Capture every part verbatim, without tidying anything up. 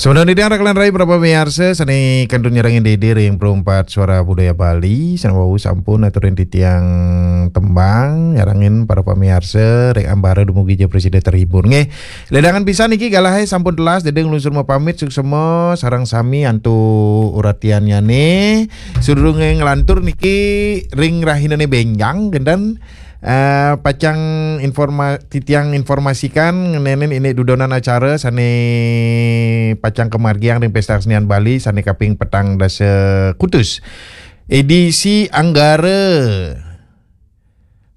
Sebenarnya tiang raka lan rai para pamiarsa sané kantun nyarengin Dede ring Perumpat Suara Budaya Bali, sané wau sampun aturin titiang tembang nyarengin para pamiarsa ring ambara dumugi ja prasida terhibur. Nggih, ledangan pisan niki galahé sampun telas, Dede nglungsur mapamit suksema sareng sami antuk uratiannyané. Sadurungé nglantur niki ring rahinané bénjang kénten, eh, pacang informa-, titiang informasikan ngenénin indik dudonan acara sané pacang kamargiang ring Pesta Kesenian Bali sané kaping petang dasa kutus. Édisi Anggara,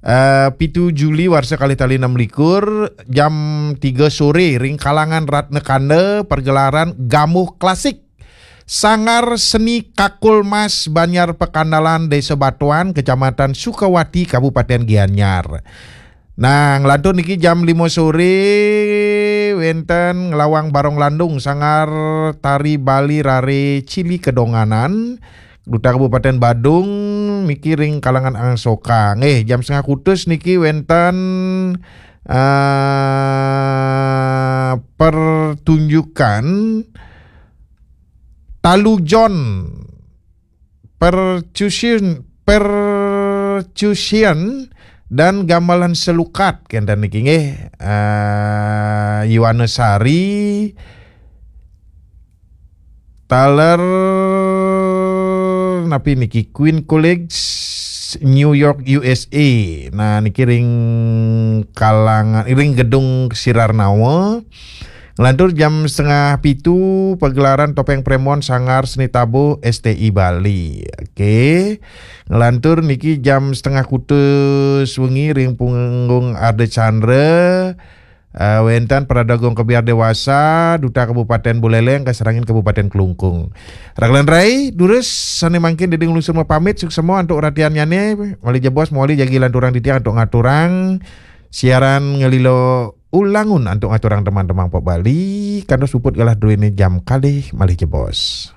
eh, pitu Juli warsa kalih tali enam likur, jam tiga soré ring kalangan Ratna Kanda, pergelaran Gamuh Klasik. Sanggar Seni Kakul Mas Banjar Pekandalan, Desa Batuan, Kecamatan Sukawati, Kabupaten Gianyar. Nah, nglantur niki jam lima soré wénten Ngelawang Barong Landung, Sanggar Tari Bali Rare Cili Kedonganan, Duta Kabupaten Badung, niki ring kalangan Angsoka. Nggih, jam setengah kutus niki wénten, eh, pertunjukan Talujon, percussion, percussion dan gamelan selukat kénten niki nggih. Eh, Yuwana Sari, taler napi niki, Queen College, New York, U S A. Nah, niki ring kalangan, ring gedung Sirar Nawa. Nglantur jam setengah pitu, pagelaran Topeng Premon Sanggar Seni Tabuh S T I Bali. Oke. Nglantur niki jam setengah kutus wengi ring punggung Arda Chandra. Eh, wénten Paradagung Kebyar Dewasa, Duta Kabupaten Buleleng, kasarengin Kabupaten Klungkung. Raka lan rai, durus sané mangkin Dede nglungsur mapamit, suksema antuk uratiannyané, malih jebos mawali jagi lanturang titiang antuk ngaturang siaran ngalila ulangun antuk ngaturang teman-teman pop Bali, kantos puput galah druéné jam kalih malih jebos.